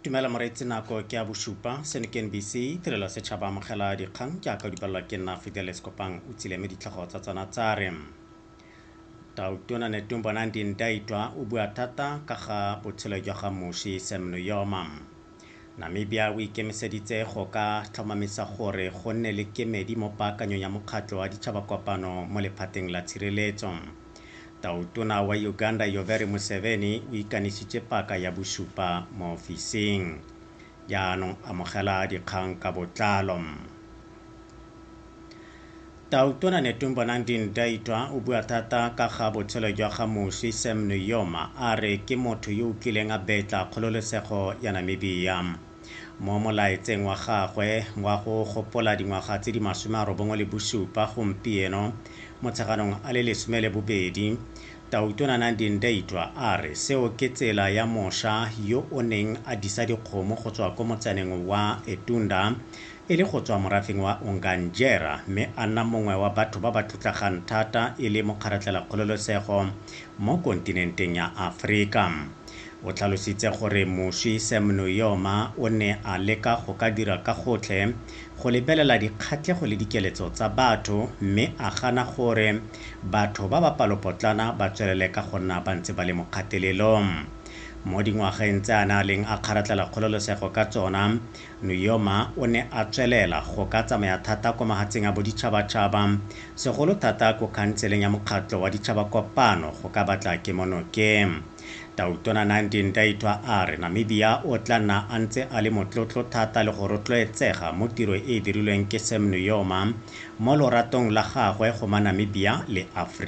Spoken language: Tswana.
Dumela moreetsi, nako ke ya bosupa. Seno ke NBC, tirelo ya setšhaba. Amogela dikgang jaaka di balelwa ke nna Fidelis Kopang o tsile, mme ditlhogo tsa tsona tsa re: Tautona Netumbo Nandi-Ndaitwah o bua thata ka ga botshelo jwa ga moswi Sam Nujoma. Namibia o ikemiseditse go ka tlhomamisa gore go nne le kemedi mo paakanyong ya mokgatlho wa ditšhabakopano mo lephateng la tshireletso. Tautona wa Uganda Yoweri Museveni o ikanisitse paka ya bosupa mo ofising. Jaanong amogela dikgang ka botlalo. Tautona Netumbo Nandi-Ndaitwah o bua thata ka ga botshelo jwa ga moswi Sam Nujoma, a re ke motho yo o kileng a betla kgololesego ya Namibia. Mo molaetseng wa gagwe wa go gopola dingwaga tse di 97 gompieno Motsheganong a le 12, Tautona Nandi-Ndaitwah a re seo ke tsela ya mosha yo o neng a disa dikgomo go tswa ko motsaneng wa Etunda e le go tswa morafeng wa Ongandjera mme a nna mongwe wa batho ba ba tlotlegang thata e le mokgaratlhela kgololesego mo kontinenteng ya Aforika. O tlhalositse gore moswi Sam Nujoma o ne a leka go ka dira ka gotlhe go lebelela dikgatlhego le dikeletso tsa batho mme a gana gore batho ba ba palopotlana ba tswelele ka go nna ba ntse ba le mo kgatelelong. Mo dingwageng tse a ne a leng a kgaratlhela kgololesego ka tsona, Nujoma o ne a tswelela go ka tsamaya thata kwa mahatsheng a boditšhabatšhaba, segolo thata ko khanseleng ya mokgatlho wa ditšhabakopano go ka batla kemonokeng. Tautona Nandi-Ndaitwah a re Namibia o tla nna a ntse a le motlotlo thata le go rotloetsega mo tiro e e dirilweng ke Sam Nujoma mo loratong la gagwe go maNamibia le Afrika.